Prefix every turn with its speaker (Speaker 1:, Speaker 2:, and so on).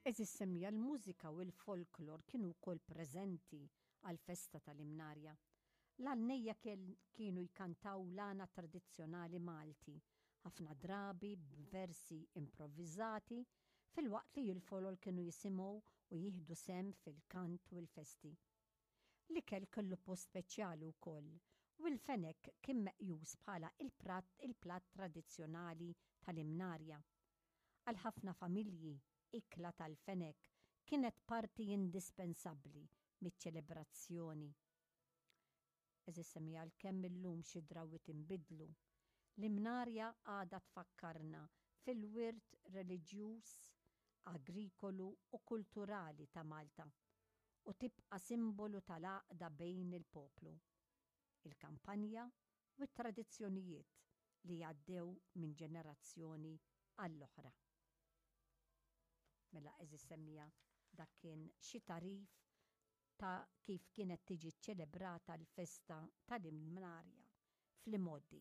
Speaker 1: Għeżież semmiegħa l-mużika u l-folklor kienu wkoll preżenti għall-festa tal-Imnarja. L-għannejja kienu jkantaw l-għana tradizzjonali Malti, ħafna drabi b'versi improvviżati, filwaqt li l-folol kienu jisimgħu u jieħdu sehem fil-kant u l-festi. L-ikel kellu post speċjali wkoll u l-fenek kien meqjus bħala il-platt tradizzjonali tal-Imnarja. Għal ħafna familji, ikla tal-fenek kienet parti indispensabbli miċ-ċelebrazzjoni. Għeżież semmiegħa għalkemm illum xi drawwiet inbidlu, l-Imnarja għadha tfakkarna fil-wirt reliġjuż, agrikolu u kulturali ta' Malta u tibqa' simbolu tal-għaqda bejn il-poplu, il-kampanja u t-tradizzjonijiet li għaddew minn ġenerazzjoni għall-oħra. Mela għeżież semmiegħa dak kien xi tagħrif ta' kif kienet tiġi ċċelebrata l-festa tal-Imnarja fl-imgħoddi.